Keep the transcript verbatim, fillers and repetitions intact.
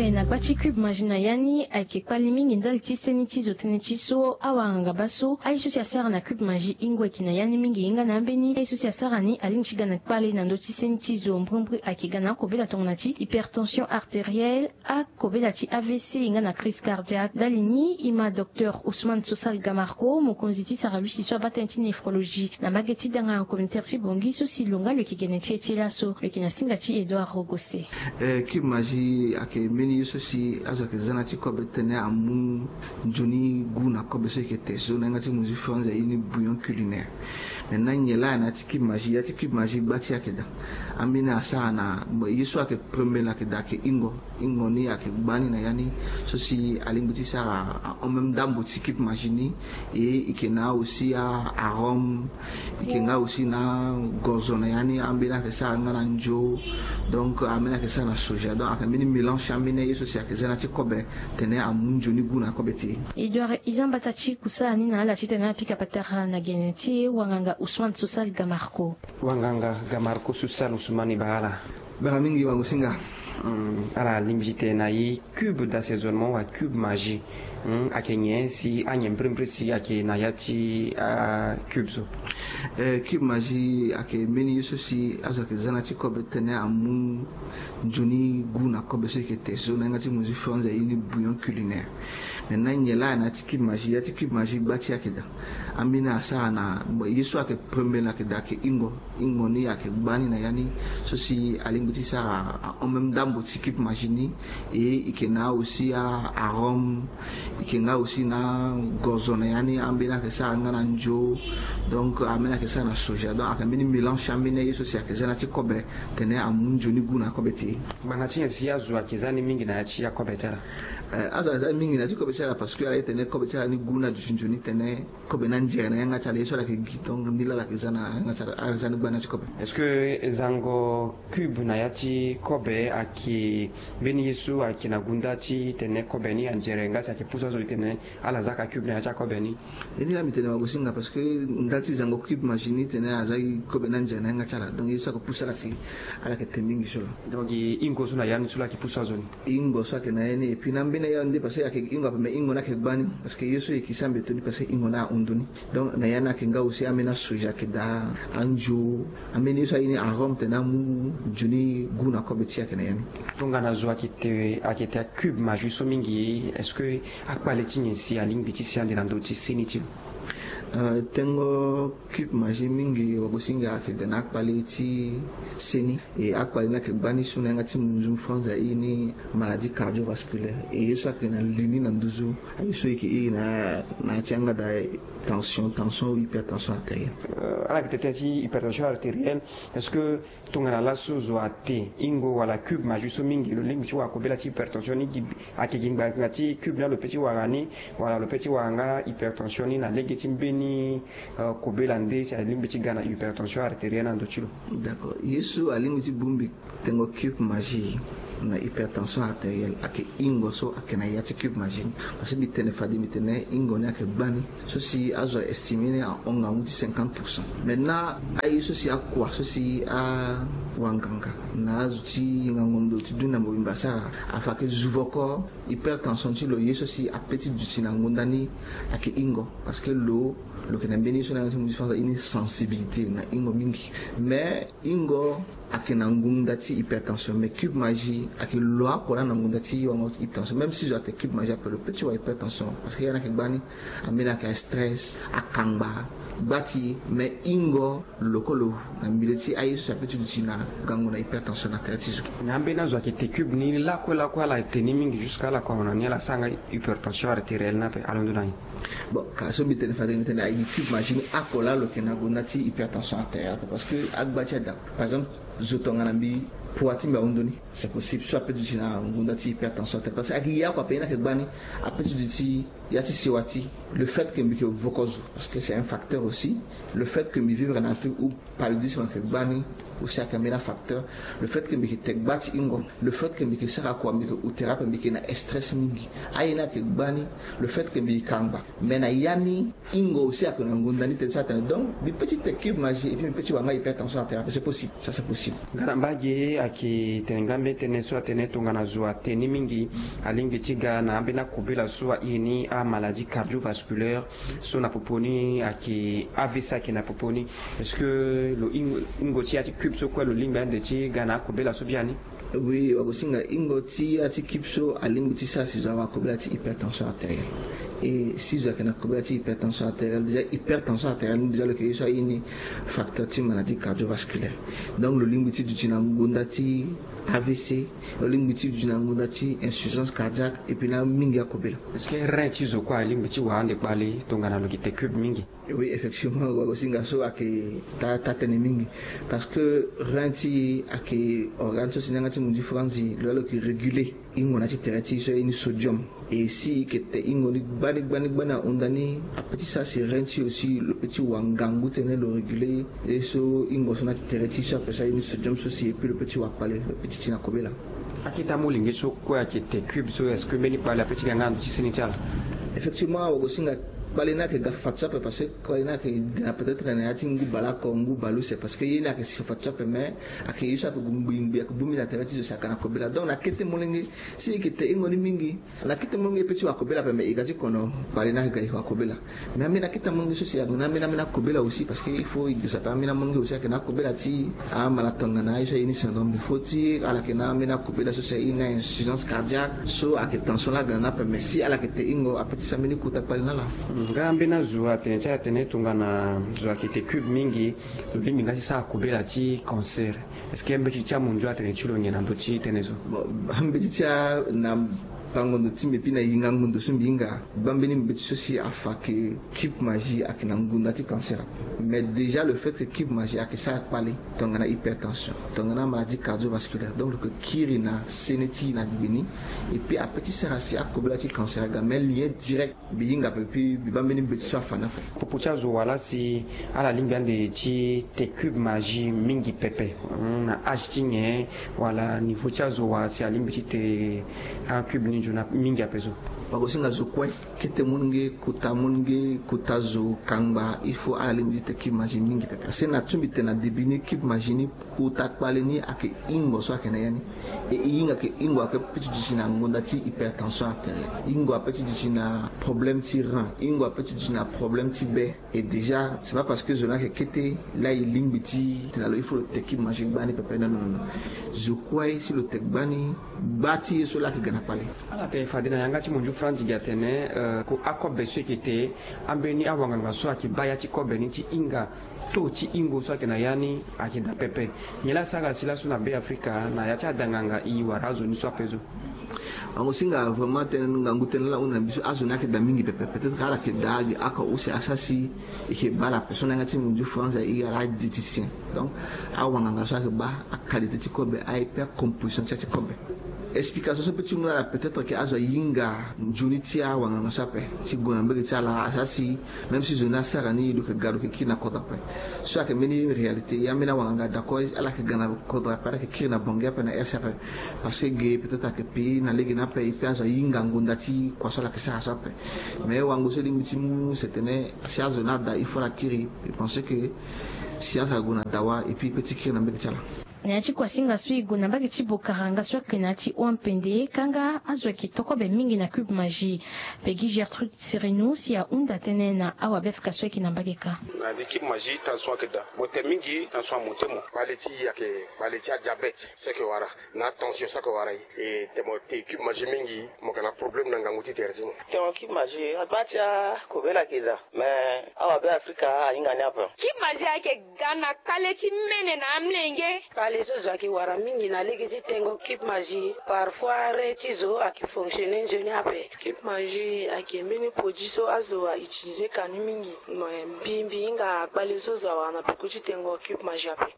Na gba ti Cube Magie na ya ni ayeke kpali mingi ndali ti seni ti zo tënë ti so awanganga baa so aye so si asara na Cube Magie ingo ayeke na ya ni mingi. Ye nga na ambeni aye so si asara ni alingbi ti ga na kpale na ndö ti seni ti zo. Mbrimbri ayeke ga na akobela tongana ti hypertension artérielle, akobela ti A V C, ye nga na crise cardiaque. Ndali ni e ma docteur Ousmane Sosal Gamarco, mokonzi ti sara lusi so abaa tënë ti néphrologie na mbage ti danga communautaire ti Bangui so si lo nga lo yeke gene ti e ti laso. Lo yeke na singa ti Edouard Rogose. Eh, Cube Magie ayeke mbeni ye so si azo ayeke za na ya ti kobe tene amu nzoni gu na kobe so e yeke te so na yanga ti munzu ti France aye ni bouillon culinaire. Maintenant nyen laa na ya ti Cube Magie? Ya ti Cube Magie gba ti e ayeke daa. Ambeni asara na, bon, ye so ayeke premier laa ayeke daa ayeke ingo. Ingo ni ayeke gba ni na ya ni so si alingbi ti sara ahon même ndambo ti Cube Magie ni. E, e yeke na aussi a, arôme, e yeke nga aussi na gozo na ya ni, ambeni ayeke sara nga na nzo. Donc ambeni ayeke sara na soja. Donc ayeke mbeni mélange ti ambeni aye so si ayeke za na ya ti kobe tene amu nzoni gu na kobe ti e. Edouard, e za mbata ti kusala ni na ala titene apika patara na gene ti e, wanganga Ousmane Sosal Gamarco. Wanganga Gamarco Sosal Ousmane, e baa ala. Bara mingi wango-singa. Hmm, ala lingbi ti tene na e Cube d'assaisonnement wala Cube Magie. Hmm, ayeke nyen si anyen mbirimbiri si ayeke na ya ti a, Cube so? Eh, Cube Magie ayeke mbeni ye so si azo ayeke za na ya ti kobe tene amu nzoni gu na kobe so e yeke te so na yanga ti munzu ti France aye ni bouillon culinaire. Maintenant nyen laa na ya ti Cube Magie? Ya ti Cube Magie gba ti e ayeke daa. Ambeni asara na, bon, ye so ayeke premier laa ayeke daa ayeke ingo. Ingo ni ayeke gba ni na ya ni so si alingbi ti sara ahon même ndambo ti Cube Magie ni. E, e yeke na aussi a, arôme, e yeke nga aussi na gozo na ya ni, ambeni ayeke sara nga na nzo. Donc ambeni ayeke sara na soja. Donc ayeke mbeni mélange ti ambeni aye so si ayeke za na ya ti kobe tene amu nzoni gu na kobe ti e. Ngbanga ti nyen si azo ayeke za ni mingi na ya ti akobe ti ala? Eh, azo aza mingi na ya ti kobe ti ala parce que ala ye tene kobe ti ala ni gu ni aduti nzoni tene kobe ni anzere na yanga ti ala, ye so ala yeke gi. Donc ni laa ala yeke za na yanga ti ala, ala za ni gba na ya ti kobe. Est-ce que zango Cube na ya ti kobe ayeke mbeni ye so ayeke na gunda ti tene kobe ni anzere nga si ayeke pusu azo ti tene ala za ka Cube na ya ti akobe ni? E ni laa mbi tene wango-singa parce que ndali ti zango Cube Magie ni tene aza kobe ni anzere na yanga ti ala. Donc ye so ayeke pusu ala si ala yeke te mingi so laa. Donc e ingo so na ya ni so laa ayeke pusu azo ni? Ingo so ayeke na ya ni, et puis na ambeni aye ni nde parce que ayeke ingo ape, mais ingo ni ayeke gba ni parce que ye so e yeke sara mbeto ni parce que ingo ni ahon ndoni. Donc na ya ni ayeke nga aussi ambeni asoja ayeke daa, anzo, ambeni ye so aye ni arôme tene amu nzoni gu na kobe ti e ayeke na ya ni. Tongana zo ayeke te, ayeke te Cube Magie so mingi, est-ce que akpale ti nyen si alingbi ti si ande na ndö ti seni ti lo? Euh, tengo Cube Magie mingi wango-singa ayeke ga na akpale ti seni. E akpale ni ayeke gba ni so na yanga ti munzu ti France aye ni maladie cardiovasculaire. E ye so ayeke na li ni na nduzu aye so e yeke iri na, na ya ti yanga daa tension, tension ou hypertension artérielle. Euh, ala yeke tene ti hypertension artérielle, est-ce que tongana laso zo ate ingo wala Cube Magie so mingi, lo lingbi ti wara kobela ti hypertension ni gi, ayeke gi ngbanga ti Cube ni lo peut ti wara ni, wala lo peut ti wara nga hypertension ni na lege ti mbeni, euh, kobela nde si alingbi ti ga na hypertension artérielle na ndö ti lo? D'accord. Ye so alingbi ti bongbi tengo Cube Magie na hypertension artérielle ayeke ingo so ayeke na ya ti Cube Magie ni. Parce que mbi tene fade, mbi tene ingo ni ayeke gba ni so si azo a estimer ni ahon ngangu ti cinquante pour cent. Maintenant aye so si akua so si awanganga na azo ti yenga ngondo ti dunia mobimba asara, afa ayeke zu voko hypertension ti lo, ye so si apeut ti duti na ngonda ni ayeke ingo. Parce que lo, lo yeke na mbeni ye so na yanga ti munzu ti France aye ni sensibilité na ingo mingi. Mais ingo ayeke na ngonda ti hypertension, mais Cube Magie ayeke lo oko laa na ngonda ti wango ti hypertension. Même si zo ate Cube Magie ape, lo peut ti wara hypertension parce que ya ni ayeke gba ni. Ambeni ayeke stress, akangba, gba ti e. Mais ingo lo kue lo na milieu ti aye so si apeut ti duti na gango na hypertension na tere ti zo. Na ambeni azo ayeke te Cube ni lakue lakue, ala te ni mingi jusqu'à ala kua na ni, ala sara nga hypertension artérielle ni ape, alondo na nyen? Bon, ka so mbi tene fade, mbi tene aye ni Cube Magie ni oko laa lo yeke na ngonda ti hypertension artérielle ape, parce que agba ti e ada. Par exemple, zo tongana mbi, poids ti mbi ahon ndoni, c'est possible so apeut ti duti na ngonda ti hypertension artérielle, parce que ayeke ye oko ape ye ni ayeke gba ni. Apeut ti duti ya ti sewa ti, le fait que mbi yeke voko zo, parce que c'est un facteur aussi. Le fait que mbi vivre na Afrique où paludisme ayeke gba ni aussi ayeke mbeni afacteur. Le fait que mbi yeke te gba ti ingo, le fait que mbi yeke sara kua, mbi yeke hu tere ape, mbi yeke na stress mingi, aye ni ayeke gba ni. Le fait que mbi yeke kangba, mais na ya ni ingo aussi ayeke na ngonda ni tënë so atene. Donc mbi peut ti te Cube Magie et puis mbi peut ti wara nga hypertension artérielle ape, c'est possible, ça c'est possible. Nga na mbage Ayeke tene nga mbeni tënë so atene tongana zo atene ni mingi, alingbi ti ga na ambeni akobela so airi ni amaladie cardiovasculaire, so na popo ni ayeke A V C ayeke na popo ni. Est-ce que lo hingo ti ya ti cube so kue lo lingbi ande ti ga na akobela so biani? Oui, wagosinga, hingo ti ya ti cube so alingbi ti sara si zo awa kobela ti hypertension artérielle. Et si zo ayeke na kobela ti hypertension artérielle, déjà hypertension artérielle ni déjà lo yeke ye so aye ni facteur ti maladie cardiovasculaire. Donc lo lingbi ti duti na ngonda ti A V C, lo lingbi ti duti na ngonda ti insuffisance cardiaque, et puis na mingi akobela. Est-ce que rein ti zo kue alingbi ti wara ande kpale tongana lo yeke te cube mingi? Oui, effectivement, wagosinga so ayeke taa tënë mingi. Parce que rein ti e ayeke organe so si na yanga ti munzu franzi lo laa lo yeke réguler hingo na ya ti tere ti e so aye ni sodium. Et si e yeke te hingo ni gbani gbani gbani ahunda ni, ape ti sara si rein ti e aussi lo pe ti wa ngangu ti tene lo réguler ye so hingo so na ya ti tere ti e so ape so aye ni sodium so si, et puis lo pe ti wa kpale, lo pe ti ti na kobela. Akete amolenge so kue ayeke te cube so, est-ce que mbeni kpale ape ti ga nga na ndö ti seni ti ala? Effectivement, wagosinga, kpale ni ayeke ga fafadeso ape, parce que kpale ni ayeke ga na peut-être na ya ti ngu baleoko ngu baleuse, parce que ye ni ayeke si fafadeso ape, mais ayeke ye so ayeke gue ngbii ngbii, ayeke bongbi na tere ti zo si aga na kobela. Donc na kete molenge, si e yeke te hingo ni mingi, na kete molenge e pe ti wa kobela ape, mais e ga ti kono kpale ni ayeke ga e wa kobela. Mais ambeni akete amolenge so si ayeke na ambeni ambeni akobela aussi, parce que il faut e girisa ape ambeni amolenge aussi ayeke na akobela ti amala tongana aye so aye ni syndrome de Fauti, ala yeke na ambeni akobela so si aye ni insuffisance cardiaque, so ayeke tension laa aga na ni ape, mais si ala yeke te hingo ape ti sara mbeni kota kpale na ala. Nga ambeni azo atene ti ala tene tongana zo ayeke te cube mingi, lo lingbi nga ti sara kobela ti cancer. Est-ce que ambeti ti amunzu atene ti lo nyen na ndö ti tënë so? Bon, ambeti ti a na bango ndo ti mbi mbi na yinga ngu ndo so mbi hinga, bambeni mbeti so si afa ke cube magie ayeke na ngonda ti cancer. Mais déjà le fait que cube magie ayeke sara kpale tongana hypertension, tongana maladie cardiovasculaire, donc lo yeke kiri na sene ti e na gbe ni. Et puis ape ti sara si akobela ti cancer aga, mais lien direct mbi hinga ape, puis mbi baa mbeni mbeti so afa ni ape. Popo ti azo wala si ala lingbi ande ti te cube magie mingi pepe, hmm, na âge ti nyen, wala niveau ti azo wa si alingbi ti te acube ni nzoni mingi ape so? Wagosinga zo kue, kete molenge, kota molenge, kota zo kangba, il faut ala lingbi ti te cube magie mingi pepe. Si na ti mbi tene na début ni, cube magie ni kota kpale ni ayeke hingo so ayeke na ya ni. E, e hinga ke hingo ape ti duti na ngonda ti hypertension artérielle, hingo ape ti duti na problème ti rein, hingo ape ti duti na problème ti be. Et déjà c'est pas parce que zo ni ayeke kete laa e lingbi ti tene na lo il faut lo te cube magie gbani pepe, non, non, non. Zo kue si lo te gbani, gba ti ye so laa ayeke ga na kpale. Ala tene fade na yanga ti munzu franzi gi atene, euh, ko akobe so e yeke te, ambeni awanganga so ayeke baa ya ti kobe ni ti hinga taux ti hingo so ayeke na ya ni ayeke daa pepe. Nyen laa asara si laso na Be Afrika na ya ti ada nganga e wara azo ni so ape so? Wango singa vraiment tënë ngangu tënë laa ahunda na mbi so, azo ni ayeke daa mingi pepe. Peut-être ala yeke daa gi oko use asara si e yeke baa la personne na yanga ti munzu franzi e ala diététicien. Donc awanganga so ayeke baa aqualité ti kobe aye pe acomposition ti ya ti kobe. Explication so peut ti mu na ala peut-être ke azo ahinga nzoni ti awanganga so ape ti gue na mbage ti ala asara si, même si zo ni asara ni lo yeke ga lo yeke kiri na kodro ape. So ayeke mbeni réalité, ya mbeni awanganga d'accord ala yeke ga na kodro ape, ala yeke kiri na Bangui ape, na R C ape. Parce que ge peut-être ayeke pi na lege ni ape, e pe azo ahinga ngonda ti kua so ala yeke sara so ape. Mais wango so e lingbi ti mu c'est tene si azo ni ada il faut ala kiri. E pense que science ague na dawa et puis e pe ti kiri na mbage ti ala. Na ya ti kuasinga so e gue na mbage ti Bokaranga so ayeke na ya ti Ompende, kanga azo ayeke to kobe mingi na Cube Magie. Peggy Gertrude Sereno si ahunda tënë na awabe Afrika so ayeke na mbage kâ. Na li Cube Magie tension ayeke daa. Mo te mingi, tension amonte mo. Kpale ti e ayeke kpale ti adiabète so ayeke wara, na tension so ayeke wara e. E te mo te Cube Magie mingi, mo yeke na problème na ngangu ti tere ti mo. Tongana Cube Magie, agba ti akobela ayeke daa. Mais awabe Afrika ahinga ni ape. Cube Magie ayeke ga na kpale ti mene na amolenge. Kpale so zo ayeke wara mingi na lege ti tengo Cube Magie, parfois rein ti zo ayeke fonctionner nzoni ape. Cube Magie ayeke mbeni produit so azo a utiliser ka ni mingi. Mais mbi, mbi hinga kpale so zo awara na peko ti tengo Cube Magie ape.